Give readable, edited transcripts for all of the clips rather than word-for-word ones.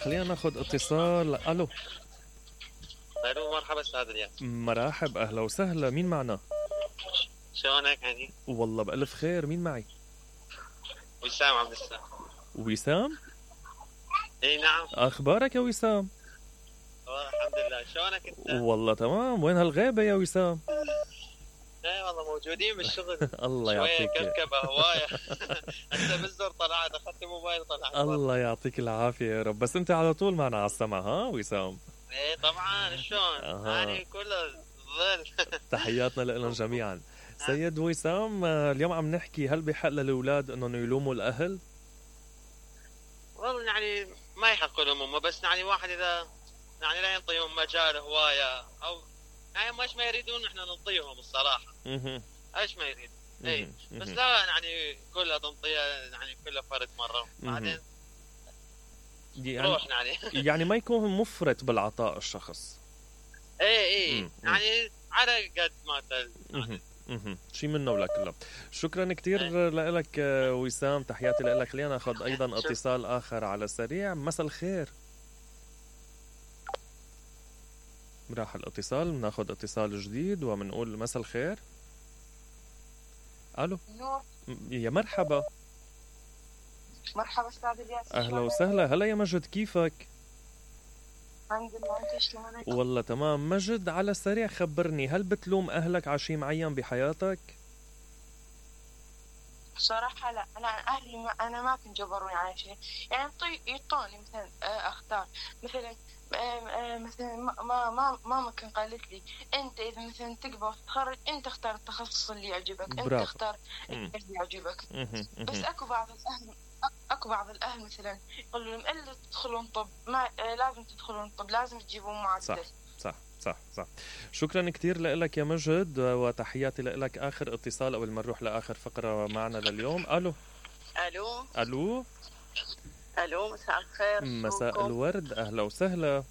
خلينا ناخذ اتصال. الو. الو مرحبا استاذ الياس. مرحب، اهلا وسهلا، مين معنا؟ شلونك يعني؟ والله بألف خير، مين معي؟ وسام عبد السلام. وسام؟ اي نعم. اخبارك يا وسام؟ والله الحمد لله، شلونك انت؟ والله تمام، وين هالغيبة يا وسام؟ ايه والله موجودين بالشغل. الله يعطيك شوية كركبة هواية. هسه بالزر طلعت، اخذت الموبايل طلعت. الله يعطيك العافية يا رب، بس انت على طول معنا على السمع ها وسام؟ ايه طبعا، شلون؟ يعني كله ظل. تحياتنا لهم جميعا. سيد وسام، اليوم عم نحكي هل بحق للأولاد انهم يلوموا الأهل؟ والله يعني ما يحق لهم هم، بس يعني واحد اذا يعني لا ينطيهم مجال هواية او يعني ايش ما يريدون احنا ننطيهم الصراحة. ايش ما يريد. اي بس لا يعني كلها تنطيها يعني كل فرد مرة بعدين روح يعني. يعني ما يكون مفرط بالعطاء الشخص. اي يعني على قد ما شي منه ولا كله. شكرا كتير لك وسام، تحياتي لك. خلينا ناخذ ايضا اتصال اخر على السريع. مساء الخير. راح الاتصال، بناخذ اتصال جديد وبنقول مساء الخير. الو. يا مرحبا. مرحبا استاذ الياس. اهلا وسهلا، هلا يا مجد، كيفك؟ الحمد لله، انت شلونك؟ والله تمام. مجد، على السريع خبرني، هل بتلوم اهلك على شيء معين بحياتك؟ بصراحة لا، أنا أهلي أنا ما كنت جبروني على شيء، يعني يعطوني مثلا أختار مثلا مثلا ماما كان قالت لي أنت إذا مثلا تكبر وتتخرج أنت اختار التخصص اللي يعجبك، أنت اختار اللي يعجبك. بس أكو بعض الأهل مثلا يقولوا لهم إلا تدخلون طب ما لازم تدخلون طب، لازم تجيبون معدل. صح. شكرا كتير لك يا مجد وتحياتي لك. آخر اتصال قبل ما نروح لآخر فقرة معنا لليوم. ألو. مساء الخير. مساء الورد، أهلا وسهلا.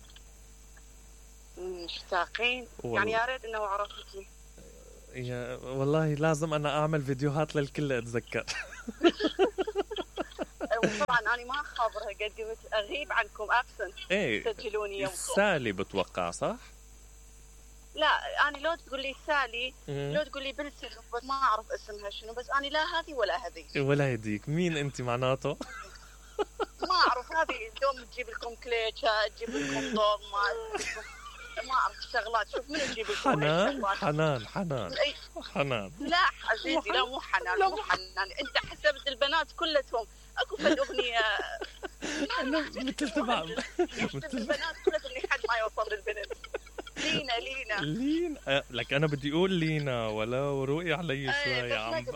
مشتاقين يعني، يا ريت إنه عرفتي. والله لازم أنا أعمل فيديوهات للكل أتذكر. طبعا أنا ما خابرها، قد قلت أغيب عنكم تسجلوني يوم سالي بتوقع صح؟ لا أنا لو تقول لي سالي لو تقول لي بنت ما أعرف اسمها شنو، بس أنا لا هذه ولا هذه ولا هذيك. مين أنت معناته؟ ما أعرف. هذه دوم تجيب لكم كليتشة، تجيب لكم ضوء، ما أعرف شغلات. شوف من تجيب لكم حنان. لا عزيزي، لا مو حنان. أنت حسبت البنات كلتهم أكو فد أغنية مثل تبع البنات كلتهم لحد ما يوصل للبنت. لينا لك أنا بدي أقول لينا ولا روقي علي شوي يا عم.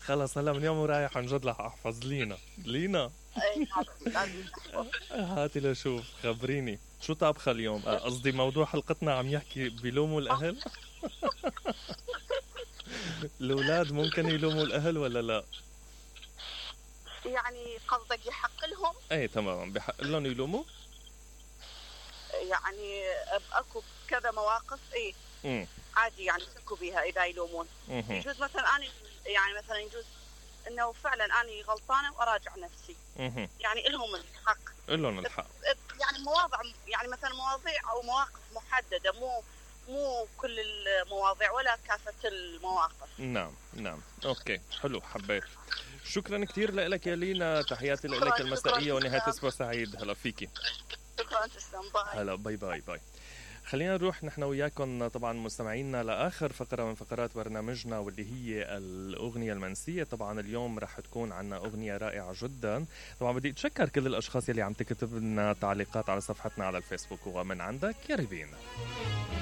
خلص هلا من اليوم ورايح عن جد رح أحفظ لينا. هاتي لشوف، خبريني شو طابخة اليوم؟ قصدي موضوع حلقتنا عم يحكي بيلوموا الأهل. الأولاد ممكن يلوموا الأهل ولا لا؟ يعني قصدك يحق لهم؟ ايه تمام، بحق لهم يلوموا. يعني اكو كذا مواقف عادي يعني يشكوا بها اذا يلومون. يجوز مثلا انا يعني مثلا يجوز انه فعلا انا غلطانه واراجع نفسي. يعني لهم الحق. يعني مواضع، يعني مثلا مواضيع او مواقف محدده، مو كل المواضيع ولا كافه المواقف. نعم اوكي، حلو، حبيت. شكرا كتير لك يا لينا، تحياتي لك المسائيه ونهايه اسبوع سعيد. هلا فيكي. شكرا، تسلم. باي. هلا، باي. خلينا نروح نحن وياكم طبعا مستمعينا لاخر فقره من فقرات برنامجنا، واللي هي الاغنيه المنسيه. طبعا اليوم رح تكون عنا اغنيه رائعه جدا. طبعا بدي اتشكر كل الاشخاص يلي عم تكتب لنا تعليقات على صفحتنا على الفيسبوك، ومن عندك يا ريفين.